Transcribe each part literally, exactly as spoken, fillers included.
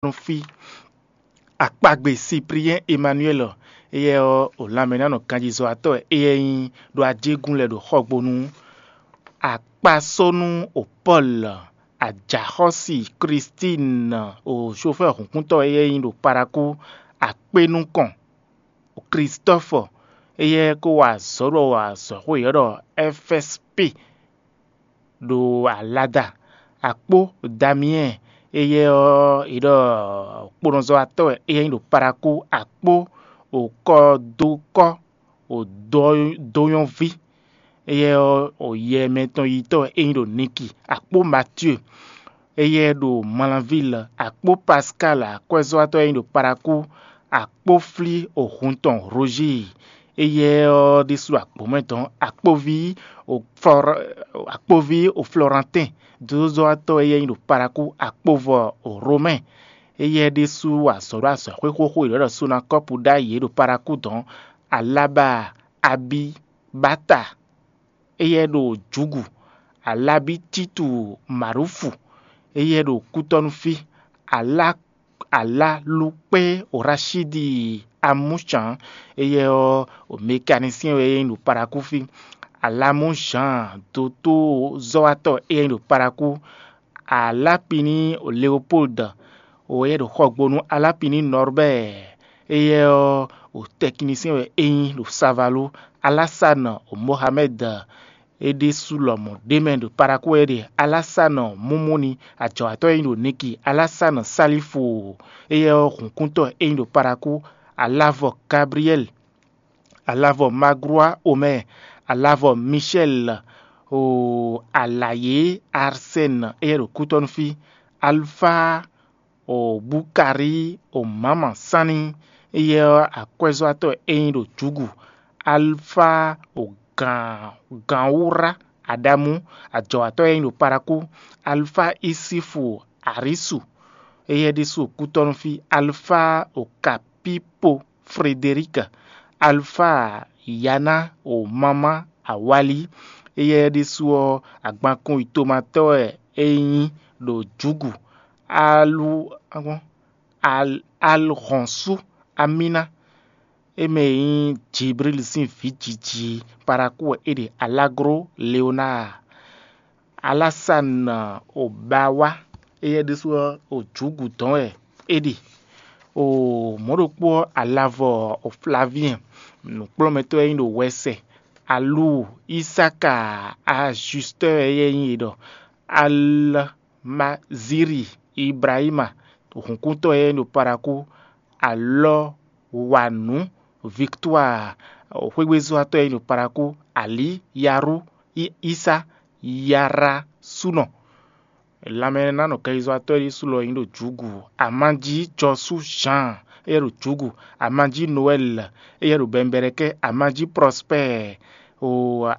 nɔ fí. Akpagbe Sipliɛ́n Emanuɛ́li, éyɛ́ ɔ́, o lanmɛnánɔ ganjízɔ́watɔ́ wɛ éyɛ́ nyí ɖo ajégún lɛ́ɛ ɖo xɔgbónu. Akpasónú o Pɔ́lu, ajaxɔ́si Klístín, o xofɛ́ hǔnkúntɔ́ wɛ éyɛ́ nyí ɖo Palakú. Akpé nukɔn o Klistɔ́fɔ, éyɛ́ ko wa azɔ̌ ɖo azɔ̌xwé yěɖɔ Ɛfɛ́spi ɖo Alada. Akpó Damiyɛ́n, éyɛ́ ɔ́, è ɖɔ kponɔzɔ́watɔ́ wɛ éyɛ́ nyí ɖo Palakú. Akpó o Kɔdókɔ́ o dó nyɔ́ví, éyɛ́ ɔ́, o yɛ mɛtɔn yitɔ́ wɛ é nyí ɖo Niki. Akpó Matíe, éyɛ́ ɖo Malanvíl. Akpó Paskáli akwɛ́zɔ́watɔ́ e nyí ɖo Palakú. Akpó Flí o hun tɔn Rožíi, éyɛ́ ɔ́ ɖésú ɖo agbǒmɛ dɔn. Akpóví o Flɔ- akpóví o Flɔrantɛ́n dózɔ́watɔ́ éyɛ́ nyí ɖo Palakú. Akpóvɔ o Romɛ́, éyɛ́ ɖésú wa azɔ̌ ɖo azɔ̌xwé xóxó e ɖɔ Sonakɔ́pu ɖ'ayǐ é ɖo Palakú dɔn. Alába Abibata, éyɛ́ ɖo Jǔgu. Alábítítu Marúfu, éyɛ́ ɖo Kútɔ́nú fí. Alá Alálukpé Rashidi Amúcǎn, éyɛ́ ɔ́, mɛkanisíɛn wɛ é nyí ɖo Palakú fí. Alamúzǎn dotózɔ́watɔ́ éyɛ́ nyí ɖo Palakú. Alápiní Leopoldu, o éyɛ́ ɖo xɔgbónú. Alápiní Nɔrbɛ́ɛ, éyɛ́ ɔ́, o tɛkinisíɛn wɛ é nyí ɖo Savalú. Alásanu Mohamɛ́d, é ɖésú lɔmɔ̌ ɖ'é mɛ ɖo Palakú wɛ é ɖe. Alásanu Mumuni, ajɔ̌watɔ́ e nyí ɖo Niki. Alásanu Salífu, éyɛ́ ɔ́, hǔnkúntɔ́ e nyí ɖo Palakú. Alavɔ Gabliyɛ́li, alavɔ Maglua Omɛ́ɛ, alavɔ Mishɛ́li, o Alayě Arsɛ́ni, éyɛ́ ɖo Kútɔ́nú fí. Alufá o Bukari o Mama Sani, éyɛ́ ɔ́, akwɛ́zɔ́watɔ́ e nyí ɖo Jǔgu. Alfa o Gǎnwúrá Aɖamú, ajɔ̌watɔ́ e nyí ɖo Palakú. Alfa Isifu Arisu, éyɛ́ ɖésú o Kútɔ́nú fí. Alfa o Kapipo Frederic, Alfa Yana o Mama Awali, éyɛ́ ɖésú ɔ́, agbankun yi tomatɔ́ wɛ é nyí ɖo Jǔgu. Alu Alhɔ̌nsú Amíná, é mɛ e nyí Jiblíli sín vǐ jiji Palakú wɛ é ɖe. Alágló Leonáa, Alásanu Obawa, éyɛ́ ɖésú ɔ́, o Jǔgu dɔn wɛ é ɖe. O mɔ̌ ɖokpó ɔ́, alavɔ o Flaviɛn, nǔkplɔ́nmɛtɔ́ e nyí ɖo wɛsɛ. Alu Isáka Ajustɔ́ wɛ éyɛ́ nyí è ɖɔ. Almaziri Ibrahima, hǔnkúntɔ́ e nyí ɖo Palakú. Alɔwanu Victoire, xwégbezɔ́watɔ́ e nyí ɖo Palakú. Alí Yarú, Isa Yarasúnɔ. Lanmɛnánɔ kɛyizɔ́watɔ́ ɖésú lɔ nyí ɖo Jǔgu. Amanjí Jɔsú Zan, éyɛ́ ɖo Jǔgu. Amanjí Nowɛ́li, éyɛ́ ɖo Bɛnbɛlɛkɛ́. Amanjí Prɔspɛ́ɛ, o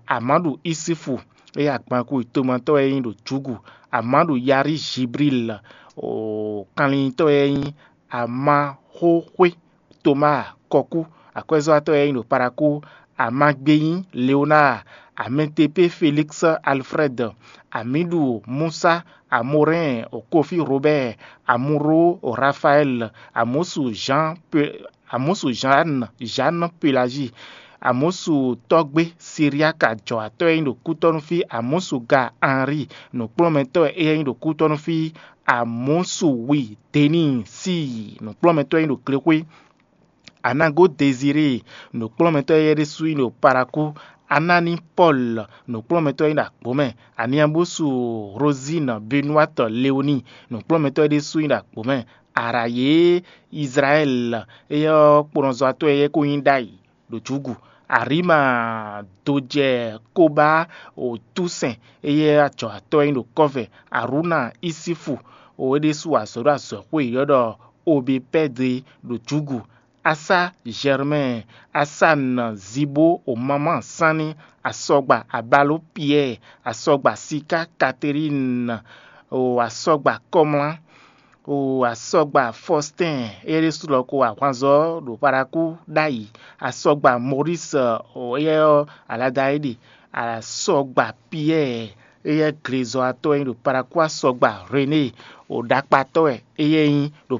Amadu Isifu, éyɛ́ agbankú yi tomatɔ́ wɛ nyí ɖo Jǔgu. Amadu Yari Jibril, o kanlintɔ́ wɛ nyí Amaxóxwé. Tomáa Kɔkú, akwɛ́zɔ́watɔ́ e nyí ɖo Palakú. Amagbeyin Leonáa, Amɛtepé Félíksɩ Alfrɛ́d, Amǐɖu Musa, Amorɛ́n Kofí Robɛ́ɛ, Amuro Rafaɛ́l, Amɔ̌su Zǎn Amɔ̌su Zǎn Zǎn Pelazi, Amɔ̌su tɔ́gbé Siriaka jɔ̌watɔ́ e nyí ɖo kútɔ́nú fí. Amɔ̌su ga Anri, nǔkplɔ́nmɛtɔ́ e nyí ɖo kútɔ́nú fí. Amɔ̌su wi Deni Síi, nǔkplɔ́nmɛtɔ́ e nyí ɖo glexwé. Anago Dezirée, nǔkplɔ́nmɛtɔ́ éyɛ́ ɖésú nyí ɖo Palakú. Anani Pɔ́lu, nǔkplɔ́nmɛtɔ́ nyí ɖo agbǒmɛ. Aniabúsu Rozín Benuwátɔ Leoni, nǔkplɔ́nmɛtɔ́ é ɖésú nyí ɖo agbǒmɛ. Arayě Izlayɛ́li, éyɛ́ ɔ́, kponɔzɔ́watɔ́ éyɛ́ ko nyí ɖ'ayǐ ɖo jǔgu. Arima dojɛ Koba o Túsɛn, éyɛ́ ajɔ̌watɔ́ e nyí ɖo kɔ́vɛ. Arúna Isífu, o é ɖésú wa azɔ̌ ɖo azɔ̌xwé yěɖɔ Obepɛ́di ɖo jǔgu. Asá Zɛrmɛ́ɛ, Asán Zibó o Mamá Sánní, asɔgba Abaló Piyɛ́ɛ, asɔgba Siká Katerín, o asɔgba Kɔmlá, o asɔgba Fɔstɛ́n, éyɛ́ ɖésú lɔ ko ahwanzɔ́ ɖo Palakú ɖ'ayǐ, asɔgba Mɔrísɔ, o éyɛ́ ɔ́, alada é ɖe, asɔgba Piyɛ́ɛ, Éyɛ́ glezɔ́watɔ́ e nyí ɖo Parakwá sɔgba René, ɖakpatɔ́ wɛ éyɛ́ nyí ɖo